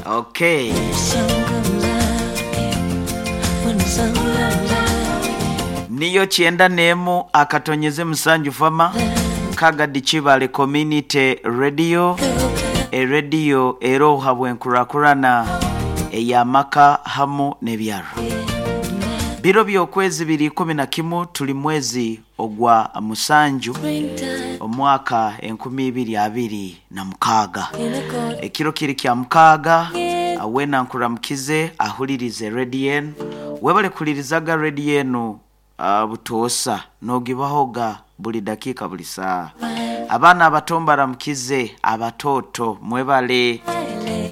Okay. Niyo 91.7 Fama Kagadi Kibale Community Radio, erediyo eroha bwenkurakurana ey'amaka hamu n'ebyaro. Biro by'okwezi 2011, tuli mwezi ogwa musanju, omwaka 2026. Ekiro kiri kya mukaaga. Wena nkuramukize ahulirize rediyo enu. Webale kuhulirizaga rediyo enu butoosa, nogibahoga buli dakiika, buli saaha. Abaana abato mbaramukize, abatooto mwebale,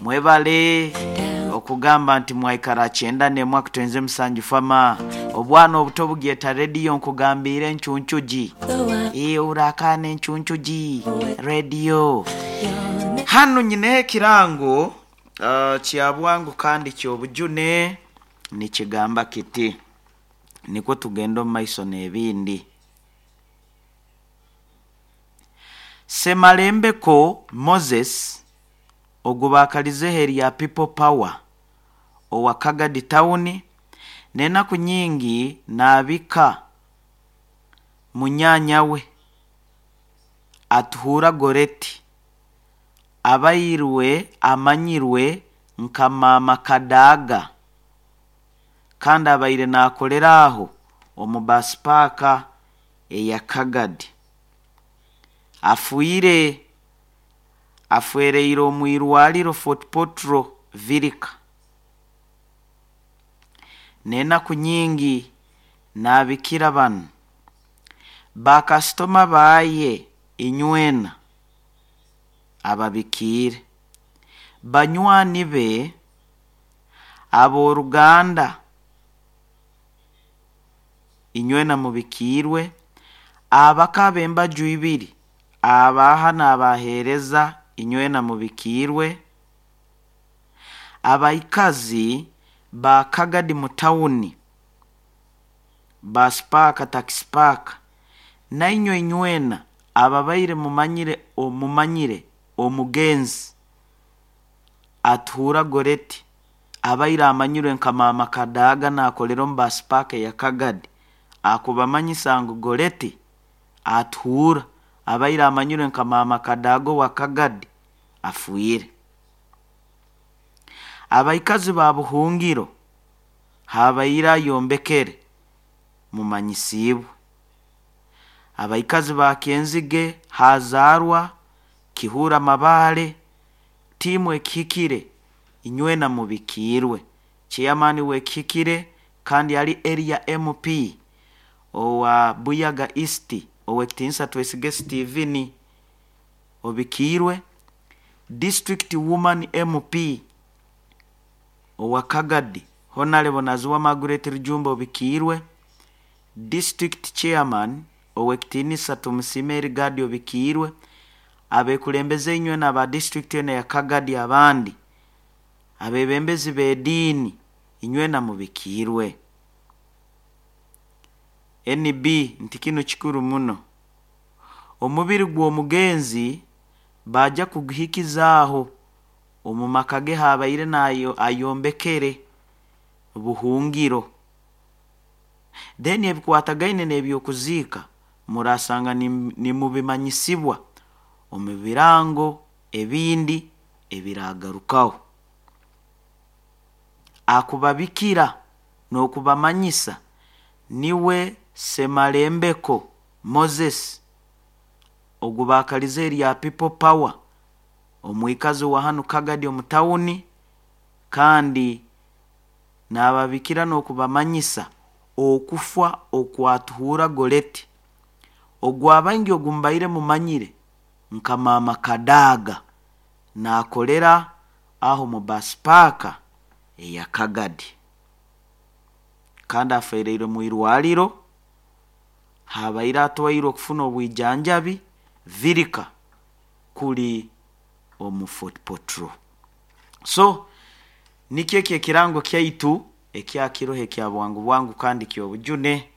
mwebale okugamba nti mwaikara 91.7 Fama. Obwana obuto bugyeta rediyo, nkugambiire encuncugi. Ee, urakaana encuncugi rediyo. Hanu nyineho ekirango kya bwangu kandi ky'obujune, nikigamba kiti, nikwo tugenda omu maiso n'ebindi. Semalembeko Moses, ogu baakalizeho erya People Power, owa Kagadi Town, n'enaku nyingi naabika munyaanya we Atuhura Goreti, abairwe amanyirwe nka Maama Kadaga, kandi abaire naakolera aho omu bus park eya Kagadi. Afiire, afwereire omu irwariro Fort Portal Virika. N'enaku nyingi naabikira banu bakasitoma baaye inywena ababikiire, banywani be, ab'oruganda inywena mubikiirwe, abaka ab'embaju ibiri, abaha n'abaheereza inywena mubikiirwe, abaikazi ba Kagadi mu tawuni, bus park, taxi park, nainywe inywena ababaire mumanyire omumanyire omugenzi Atuhura Goreti, abaire amanyirwe nka Maama Kadaga, naakolera omu bus park eya Kagadi, akubamanyisa ngu Goreti Atuhura, abaire amanyirwe nka Maama Kadaga owa Kagadi, afiire. Abaikazi ba Buhungiro habaire ayombekere mumanyisiibwe. Abaikazi ba Kyenzige hazaarwa Kihura Mabaale, tiimu ekihikire inywena mubikiirwe. Chairman w'ekihikire kandi ali area MP owa Buyaga East, ow'ekitiinisa Twesige Stephen, obikiirwe. District Woman MP owa Kagadi, Honorable Naziwa Margaret Rujumba, obikiirwe. District Chairman ow'ekitiinisa Tumusiime Erigadi, obikiirwe. Abekulembeze inywena aba district enu eya Kagadi, abandi abebembezi b'ediini inywena mubikiirwe. NB nti kinu kikuru muno. Omubiri gw'omugenzi baija kuguhikizaaho omu maka ge habaire nayo ayombekere Buhungiro. Then ebikwatagaine n'ebyokuziika murasanga nimubimanyisibwa omu birango ebindi ebiragarukaho. Akubabikira n'okubamanyisa niwe Semalembeko Moses, ogu baakalize erya People Power, omwikazi wa hanu Kagadi omu tawuni, kandi naababikira n'okubamanyisa okufa okwatuhura Goreti, ogwabaingi ogu mubaire mumanyire nka Maama Kadaga, naakolera aho mu bus park eya Kagadi, kandi afeereirwe mu irwariro habaire atwairwe okufuna obwijanjabi Virika kuli omu Fort Portal. So nikyo eki ekirango kyaitu ekya kiroho ekya bwangu bwangu kandi ky'obujune.